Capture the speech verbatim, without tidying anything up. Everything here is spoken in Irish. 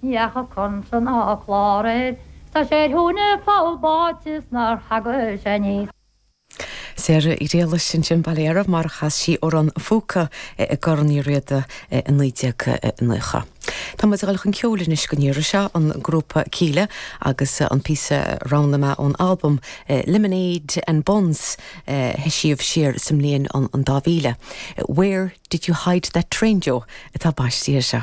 Ní fhaca consan ná clár air, Tá sé ar thóin poll báite 's nár thagadh sé aníos. Sarah Uí Ghriallais ansin Baile Gharbh mar chas sí Amhrán an Phúca i gCorn Uí Riada i naoi déag nócha. Tá muid ag dul chun ceoil anois go ndéara seo an grúpa Kíla agus an píosa roghnaithe mé ón album Lemonade and Buns eisíodh siar sa mbliain an an dá mhíle. Where did you hide that train Joe atá baiste seo?